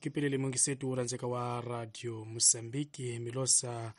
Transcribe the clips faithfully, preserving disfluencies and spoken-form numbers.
Kipelele mungisetu wo rhandzeka wa Radio Mosambiki milosa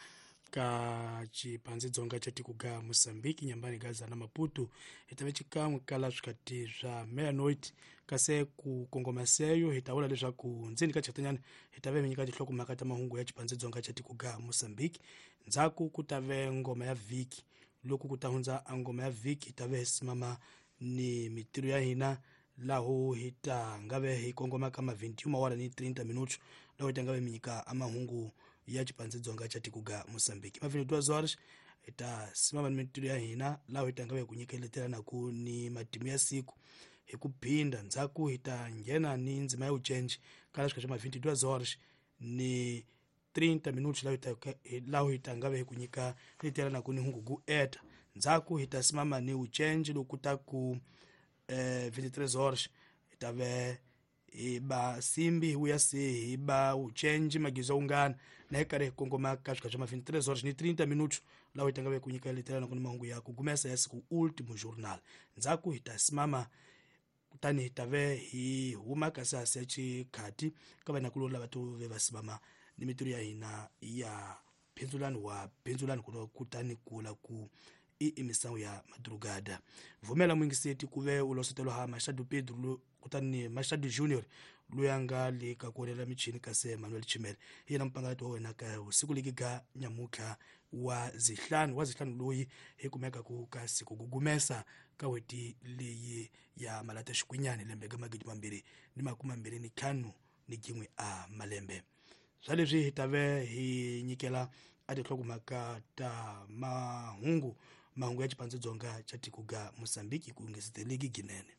ka Chipanzi Dzonga cha tiko ga Mosambiki nyambani Gaza na Maputo hi ta ve xikan'we kala swikati swa meia-noite kasi ku kongoma seyo hi ta vula leswaku ndzeni ka chatanyana hi ta ve mi nyika tinhlokomhaka ta mahungu ya Chipanzi Dzonga cha tiko ga Mosambiki. Ndzhaku ku ta ve ngoma ya vhiki, loko ku ta hundza a ngoma ya vhiki hi ta ve hi simama ni mitirho ya hina laho hi ta nga ve hi kongoma ka ma vinte e uma hora ni trinta minutos laho hi ta nga ve mi nyika a mahungu ya Chipanzi Dzonga cha tiko ga Mosambiki. Ma vinte e duas horas hi ta simama ni mitirho ya hina laho hi ta nga ve ku nyikeletela ni matimu ya siku hi ku phinda. Ndzhaku hi ta nghena ni ndzima ya ucenji kala swika swa ma vinte e duas horas ni trinta minutos laho hi ta laho hi ta nga ve hi ku nyika letelanaku ni hungu ku eta. Ndzhaku hi ta simama ni ucenji loko ta ku eh, vinte e três horas hi ta ve hi ba simbi hi vuya se hi ba ucenji magizo ungana na hi karhi hi kongoma ka swika swa ma vinte e três horas ni trinta minutos laho hi ta nga ve ku nyika letelanaku ni mahungu ya ku gumesa ya siku último jornal. Ndzhaku hi ta simama kutani hi ta ve hi huma kasi hasi ya xikhati ka vanakuloni lava to ve va simama ni mitirho ya hina ya phindzulani wa phindzulani kutani kula ku i imisangu ya madrugada. Vumela muyingiseti ku ve u losetelo ha Machado Pedro kutani Machado Junior loyi a nga le ka ku onela michini kasi Manuel Chimele hi yena mupangati wa wena ka siku leki ga nyamutlha wa zihlanu wa zihlanu loyi hi kumeka ku ka siku gugumesa ka weti leyi ya malata xikwinyani lembe ga magidi mambirhi ni makume mambirhi ni ntlhanu ni jin'we a malembe. Swa leswi hi ta ve hi nyikela a tinhlokomhaka ta mahungu mahungu ya Chipanzi Dzonga cha tiko ga Mosambiki ku ngeseteleki ginene.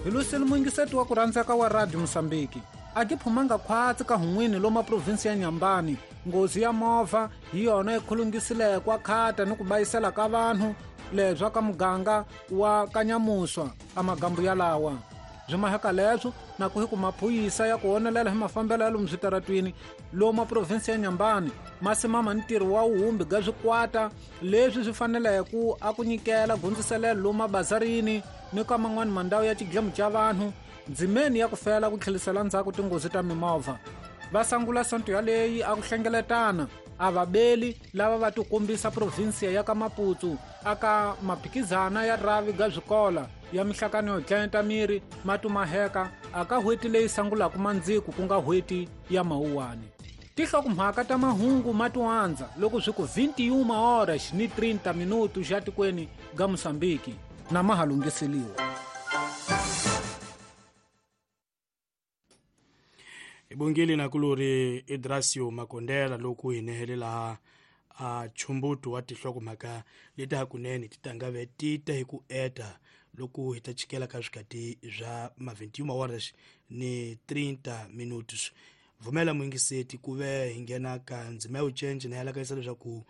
Hi luseni muyingiseti wa ku rhandzeka wa Radio Mosambiki a ki phumanga khwatsi ka hun'wini loma provinsi ya Nyambani. Nghozi ya movha hi yona yi khulungisileke khata ni ku bayisela ka vanhu lebya ka muganga wa Kanyamuswa a magambu yalawa. Byi maheka leswo na ku hi ku maphuyisa ya ku onelela hi mafambelo ya lomu switaratwini loma provinsi ya Nyambani ma simama ntirho wa wuhumbi ga swikwata leswi swi faneleke ku a ku nyikela gundziselelo lomu mabazarini ni ka man'wani mandhawu ya xidlemu xa vanhu ndzimeni ya ku fela ku tlhelisela ndzhaku tinghozi ta mimovha. Va sangula sonto yaleyi a ku hlengeletana a vabeli lava va tikombisa provinsiya ya ka Maputo aka maphikizana ya rhavi ga swikola ya mihlakano yo dlayeta miri matumaheka aka hweti leyi sangulaka mandziku ku nga hweti ya Mawuwani. Tinhlokomhaka ta mahungu ma tiwandza loko swi ku vinte e uma horas ni trinta minutos xa tikweni ga Mosambiki na ma ha lunghiseliwa. Hi bongile nakulori Idrasio Makondela loko hi nehelela a chumbuto wa tinhlokomhaka leti hakunene ti ta nga ve ti ta hi ku eta loko hi ta chikela ka swikati swa ma vinte e uma horas ni trinta minutos. Vumela muyingiseti ku ve hi nghena ka ndzima ya ucenji na yalakayisa leswaku